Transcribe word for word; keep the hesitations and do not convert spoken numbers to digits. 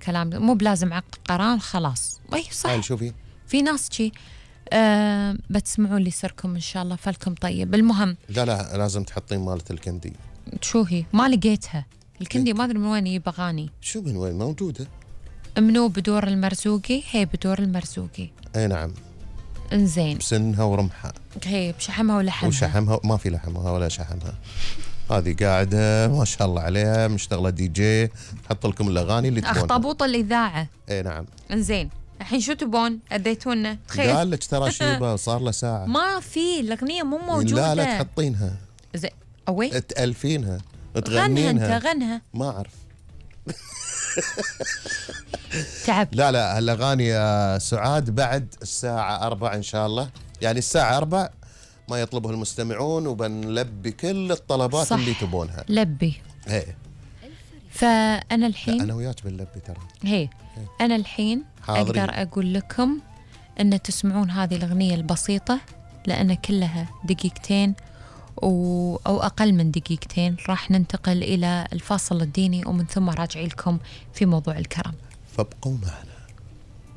كلام مو بلازم عقد قران خلاص. اي صح. شوفي في ناس شي أه بتسمعوا لي سركم ان شاء الله، فلكم طيب. المهم لا لا لازم تحطين مالة الكندي. شو هي؟ ما لقيتها الكندي، ما ادري من وين يجيب اغاني. شو من وين موجودة؟ منو بدور المرزوقي؟ هي بدور المرزوقي. اي نعم. انزين. بسنها ورمحها. هي بشحمها ولحمها. وشحمها ما في لحمها ولا شحمها. هذه قاعدة ما شاء الله عليها مشتغلة دي جي، تحط لكم الأغاني اللي تبونها. أخطبوط الإذاعة. اي نعم. انزين الحين شو تبون؟ أديتونا خير. قال لك ترى شيبة صار له ساعة. ما في الأغنية مو موجودة. لا لا تحطينها. زين أوي تألفينها تغنينها. غنها انت غنها. ما أعرف. تعب. لا لا هالأغاني يا سعاد بعد الساعة أربع إن شاء الله، يعني الساعة أربع ما يطلبه المستمعون وبنلبي كل الطلبات صح. اللي تبونها. لبي. هي. فأنا الحين أنا وياك بنلبي ترى. هي. هي. أنا الحين حاضرين. أقدر أقول لكم أن تسمعون هذه الأغنية البسيطة لأن كلها دقيقتين و... أو أقل من دقيقتين. راح ننتقل إلى الفاصل الديني ومن ثم راجعي لكم في موضوع الكرم، فابقوا معنا.